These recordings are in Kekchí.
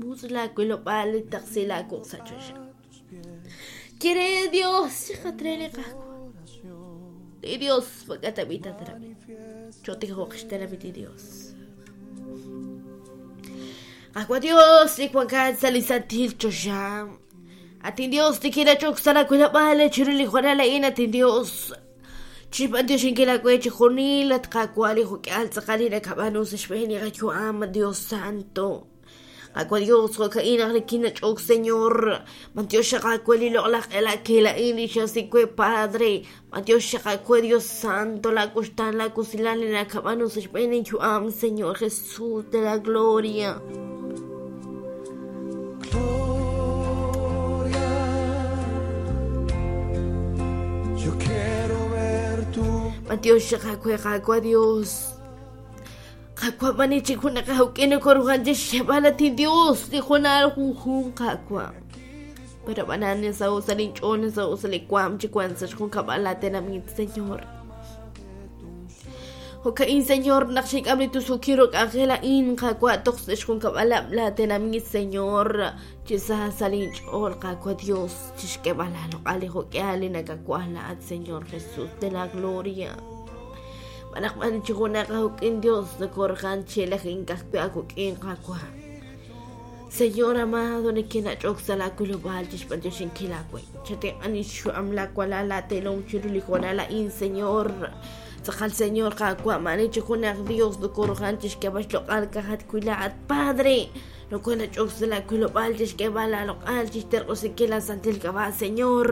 Mutz' laawilob'aal ut taqsi laawuq' sa' choxa. Ye re Dios xaqat re li Qaawa'. Li Dios mak'a tab'i' tatrab'i. Chotijoq xtenamit li Dios. Qaawa' Dios, li wankat sa' li santil choxa. At inDios, nikinach'ok sa' laawilob'aal chiru li hoonal a'in, at inDios. Chixb'antioxinkil aawe chixjunil, at Qaawa' li jo'k'ihal tz'aqal li nakab'aanu sa' xb'een li qayu'am, Dios Santo. Qaawa' Dios, jo'ka'in naq nikinnach'ok, Señor. B'antiox xaq aawe li loq'laj q'elakil a'in li xasik we, Padre. B'antiox xaq aawe, Dios Santo, laa wuxtaan, laa wusilal li nakab'aanu sa' xb'een inyu'am, Señor Jesús de la Gloria. Gloria, yo quiero ver tu B'antiox xaq aawe, Qaawa' Dios. Qaawa' b'ani chik junaq awk'in nokoruhan chixxeb'al at inDios li junal junjunq Qaawa'. Pero ab'anan nasaho' sa' linch'ool, nasaho' sa' li waam chi wank sa' xjunkab'al laatenamit, Señor. Jo'ka'in, Señor, naq xink'am li tusuukil ru k'anjel a'in, Qaawa', toj sa' xjunkab'alab' laatenamit, Señor, chi sa sa' linch'ool, Qaawa' Dios, chixk'eeb'al aaloq'al li jo'k'ihal li nakawaj laa'at, Señor Jesús de la Gloria. B'anaq b'an chi junaq awuk'in Dios nokorqan chi elajink ka'ajwi' awuk'in Qaawa'. Señor amado, nikinach'ok sa' laawilob'aal chi xb'antioxinkil aawe. Chatenq'an li xyu'am laawalal laateelom chiru li hoonal a'in, Señor. Tz'aqal Señor Qaawa', maani chi junaq Dios nokorqan chi xk'eeb'al xloq'al ka'ajat wi' laa'at, Padre. Nokonach'ok sa' laawilob'aal chi xk'eeb'al aaloq'al, chi xterq'usinkil laasantil k'ab'a', Señor.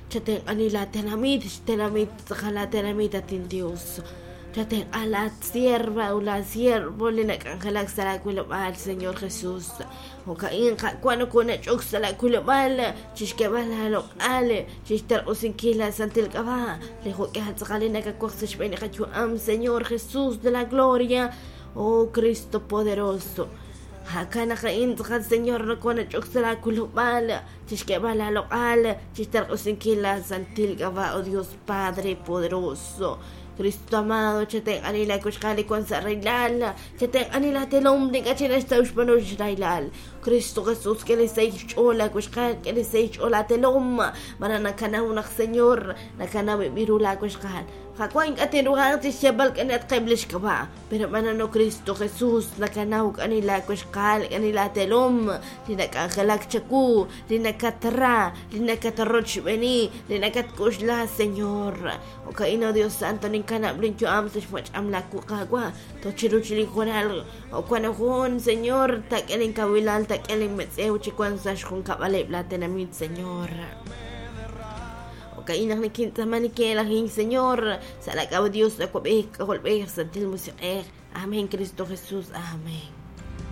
Chatenq'ani laatenamit, xtenamit tz'aqal laatenamit, at inDios. Chatenq'a laa sierva ut laa siervo li nak'anjelak sa' laawilob'aal, Señor Jesús. Jo'ka'in, Qaawa', nokonach'ok sa' laawilob'aal chixk'eeb'al aaloq'al, chixterq'usinkil laasantil k'ab'a', li jo'k'ihal tz'aqal li nakawaj sa' xb'een li qayu'am, Señor Jesús de la gloria, oh Cristo poderoso. Jo'kan naq a'in tz'aqal, Señor, nokonach'ok sa' laawilob'aal chixk'eeb'al aaloq'al, chixterq'usinkil laasantil k'ab'a', oh Dios Padre poderoso. Cristo amado, chatenq'ani laakuxqal li wank sa' rahilal, chatenq'ani laatelom li ink'a' chik naxtaw xb'aanu xrahilal. Cristo Jesús, k'e li sahil xch'ool laakuxqal, k'e li sahil xch'ool laatelom, malaj nakanaw naq Señor, nakanaw eb' ru laakuxqal. Qaawa' ink'a' tinruhanq chi xyeeb'al k'anatqeb' li xk'ab'a', pero b'anano Cristo Jesús, nakanaw k'ani laakuxqal, k'ani laatelom, li nak'anjelak chawu, li nakatra, li nakatrochb'eeni, li nakatk'uxla, Señor. Jo'ka'in, oh Dios Santo, ninkanab' linyu'am sa' xwach'am laawu Qaawa', toj chiru chi linjunal wan jun, Señor, taak'e linkawilal, taak'e linmetz'ew chi wank sa' xjunkab'aleb' laatenamit, Señor. Jo'ka'in naq nikintz'aama nikin'elajink, Señor, sa' laak'ab'a' Dios, Awab'ej, K'ajolb'ej, Santil Musiq'ej. Amén, Cristo Jesús. Amén.